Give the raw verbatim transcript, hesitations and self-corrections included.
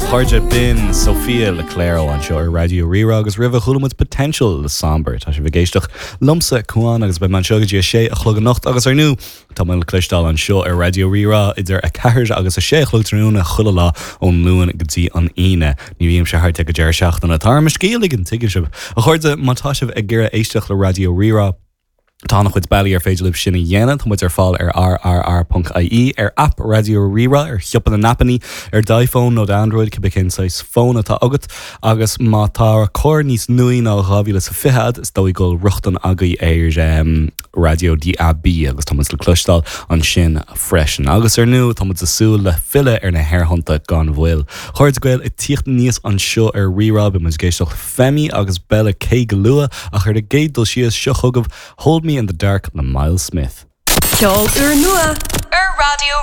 Chairde b'in Sophia Le Claro anseo ar Raidió Rí-Rá agus roimhe chuala muid Potential le Somber Tá sibh ag éisteacht liomsa Cuan agus beidh mé anseo go dtí a sé a chlog anocht agus ar ndóigh Tá mé le cloisteáil anseo ar Raidió Rí-Rá idir a ceathair agus a sé a chlog tráthnóna chuile lá ón Luan go dtí an Aoine. Ní bhím sé thart go deireadh seachtaine Tá mo scéal an tuigeann sibh. A chairde má tá sibh ag iarraidh éisteacht le Raidió Rí-Rá. Tá an-chuid bealaí ar féidir libh sin a dhéanamh tá muid ar fáil ar rrr.ie ar app Raidió Rí-Rá ar shiopa na n-aipeanna ar d'iPhone nó Android cibé cén saghas fón atá agat agus má tá carr níos nuaí ná dhá mhíle sa fiche is dóigh go bhfuil rochtain agaibh ar um, Radio DAB agus tá muid le cloisteáil ansin freisin. Agus ar ndóigh tá muid ag súil le filleadh ar na haerthonnta gan mhoill. Chairde Gael ag tíocht aníos anseo ar Rí-Rá beidh muid ag éisteacht Femi agus Bella K go luath ach ar an gcéad dul síos seo chugaibh Hold Me in the Dark le Miles Smith. Ceol úrnua ar Raidió